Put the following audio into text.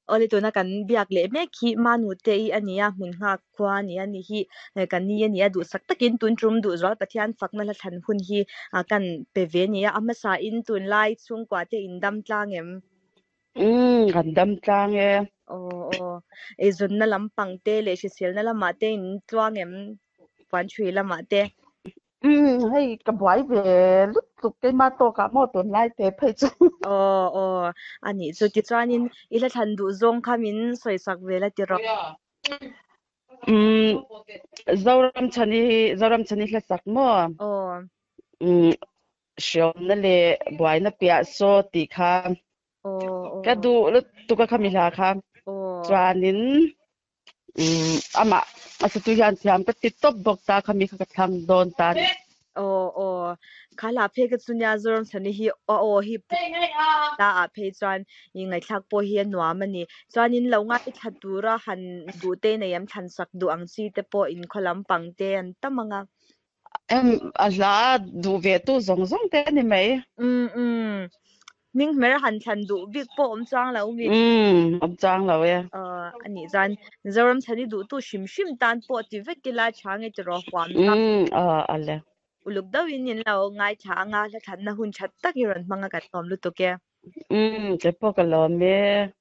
Awle tuna kan biak leh mek hi Manute i a ni a, hmun nghak khua a ni a ni hi kan ni a ni a, duhsak takin tun tum duhzual Pathian fakna hla thlan hun hi kan pe ve a ni a, a hmasa in tunlai chhungkua te in dam tlang em? Umm kan dam tlang e. Aw aw, eizawnna lampang te leh hriselna lamah te in tluang em? Puanchhui lamah te. Umm hei ka buai ve lutuk keimah tawkah maw tunlai te phei chu. Aw aw a nih chu tichuanin i hla thlan duh zawng kha min sawisak ve la tiraw. Umm Zoramchhani hi Zoramchhani hla sak maw? Aw. Umm hriawmna leh buaina piah saw tih kha ka duh lutuk a khami hla kha. Chuanin Umm amah a satu hian thiam ka ti tawp bawk ta khami kha ka thlang dawn ta ni. Aw aw kha hla phei ka chu nia Zoramchhani hi a aw hi la ah phei chuan i ngaihthlak pawh hi a nuam a ni. Chuanin lo ngaithla tura han duh te nei em thlan sak duh ang chi te pawh inkhaw lampang te an tam ang a. Em a hla duh ve tu zawng zawng te a ni mai. Umm umm Hming hmer han thlan duh bik pawh awm chang lo mi. Umm awm chang lo e. Aw a nih chuan Zoram chhan i duhtu hrim hrim tan pawh ti vek ila tha nge tiraw huam tak. Umm aw a le. Uluk deuhin in lo ngaithla anga hla thlanna hun that tak i rawn hmang a kan lawm lutuk e. Umm kei pawh ka lawm e.